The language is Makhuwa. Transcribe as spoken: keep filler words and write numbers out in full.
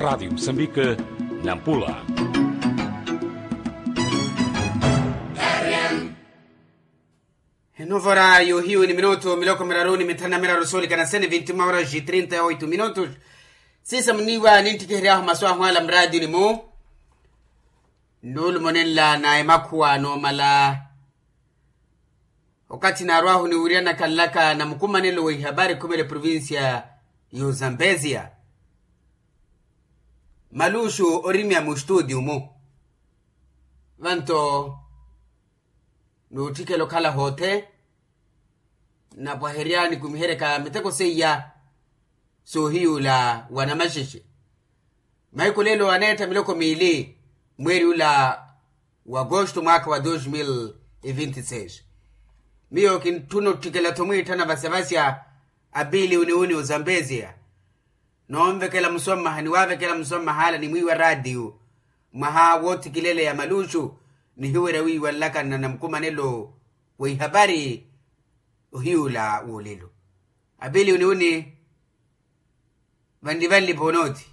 Radiyo musambika, nampula. Enovora yohiyu ni minutu miloko miraru ni mithanu na miraru soolikana sene vinti mwaora ji trinta e oitu minutu. Sisa muniiwa ninttikiheryahu masu ahwaala mraadiyuni-mu. Nnuulumo nenla na emakhuwa noomala okathi naarwahu niwiryanaka nlaka na mukumanelo wa ihabari khumela eprovincia y'ozambesia. Maluxu orimya mustudio-mu vanto n'utthikela okhala hoothe. Napwaherya nikumiheryaka miteko seiya soohiyuula wa namaxexe. Mahiku lelo aneetta miloko miili mweeri ula wa agosto mwaakha wa dos mil e vinti seis. Miyo kintthuna otthikela-tho mwiitthana vasya-vasya apiili uniuni ozambesia. Noonvekela musommaha niwaavekela musommaha ala nimwiiwa raatiyo mwaha woothikileleya maluxu. Nihiwerya wiiwa nlakana na mukumanelo wa ihapari ohiyuula woolelo. Apiili uniuni vanli-vanli poonoothi.